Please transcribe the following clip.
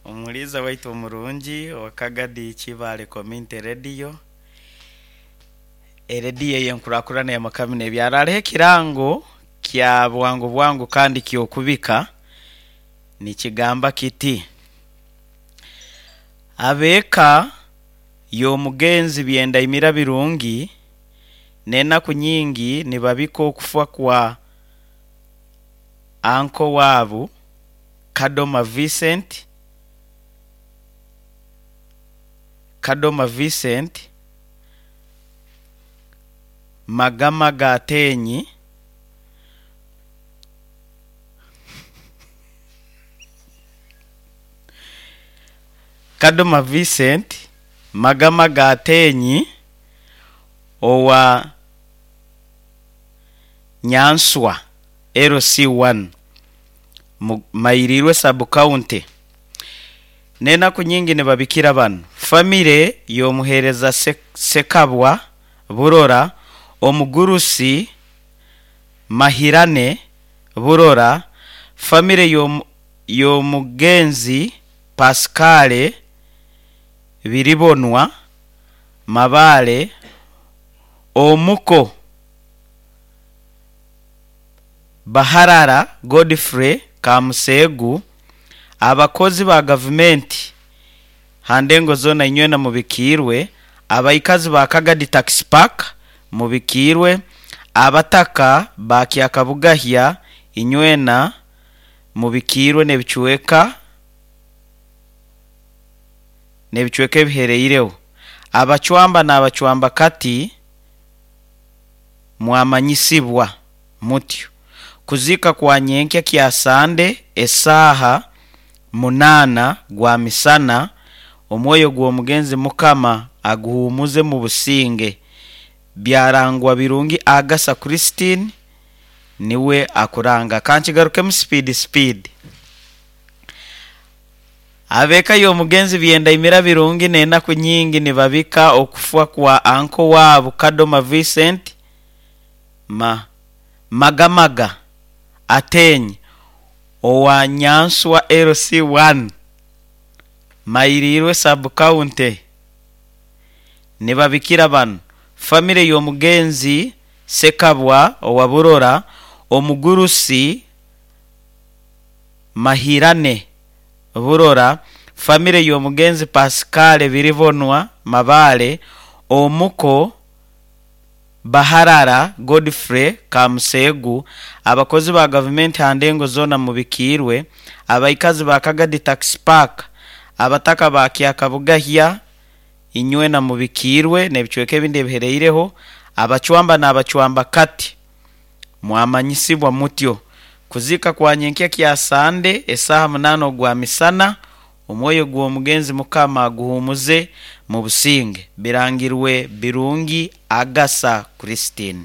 Omuhuriiza waitu omurungi owa Kagadi Kibaale Community Radio, erediyo ey'enkurakurana y'amakami n'ebyaro. Hariho ekirango kya bwangu bwangu kandi ky'okubika nikigamba kiti, Ab'eka y'omugenzi Byendaimira Birungi n'enaku nyingi nibabika okufa kwa anko waabu Kadoma Vincent, Kadoma Vincent, Magamaga Atenyi, Kadoma Vincent, Magamaga Atenyi owa Nyanswa LC1 mu Mairirwe Sub-County. N'enaku nyingi nibabikira bano, famire y'omuheereza Ssekabwa Burora, omugurusi Mahirane Burora, famire y'omugenzi Pascal Biribonwa Mabaale, omuko Baharara Godfrey Kamuseegu, abakozi ba gavumenti ha ndengo zoona inywena mubikiirwe, abaikazi ba Kagadi Taxi Park mubikiirwe, abataka ba Kyakabugahya inywena mubikiirwe n'ebicweka n'ebicweka ebihereireho. Abacwamba n'abacwambakati mwamanyisibwa mutyo. Kuziika kwa nyenkya kya Sande esaaha munaana gwa misana, omwoyo gw'omugenzi Mukama aguhuumuze mu businge. Byarangwa Birungi Agasa Christine niwe akuranga. Kankigarukemu sipiidi sipiidi. Ab'eka y'omugenzi Byendaimira Birungi n'enaku nyingi nibabika okufwa kwa anko waabo Kadoma Vincent Ma Magamaga Ateenyi owa Nyanswa LC1, Mairirwe Sub-County. Nibabikira bano, famire y'omugenzi Ssekabwa owa Burora, omugurusi Mahirane Burora, famire y'omugenzi Pascal Biribonwa Mabaale, omuko Baharara Godfrey Kamuseegu, abakozi ba gavumenti ha ndengo zoona mubikiirwe, abaikazi ba Kagadi Taxi Park, abataka ba Kyakabugahya inywena mubikiirwe n'ebicweka ebindi ebihereireho, abacwamba n'abacwamba kati mwamanyisibwa mutyo. Kuziika kwa nyenkya kya Sande esaaha munaana ogwa misana, Omwoyo gw'omugenzi Mukama aguhuumuze mu businge. Birangirwe Birungi Agasa Christine.